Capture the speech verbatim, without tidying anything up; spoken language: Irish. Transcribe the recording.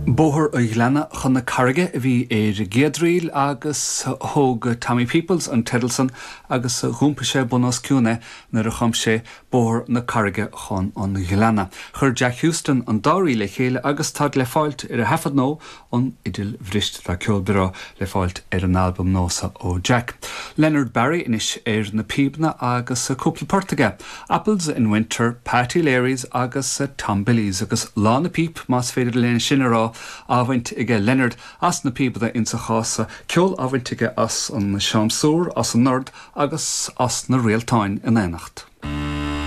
Bóthar an Ghleanna chun na Carraige a bhí ar an gcéad ríl agus thóg Tommy Peoples an teideal san agus d'iompaigh sé bun os cionn é nuair a chum sé Bóthar na Carraige chun an Ghleanna. Chuir Jack Houston an dá ríl le chéile agus táid le fáilt ar a thaifead nua an Fhidil Bhriste tá ceol breá le fáilt ar an albam nua seo ó Jack. Leonard Barry anois ar na píobanna agus cúpla port aige. Apples in Winter, Patty Leary's agus Tom Billy's agus lá na píp más féidir linn sin a rá á bhaint aige Leonard as na píobanna insa chás seo ceol á bhaint aige as an siamsúr, as an ord agus as na réaltáin in éineacht.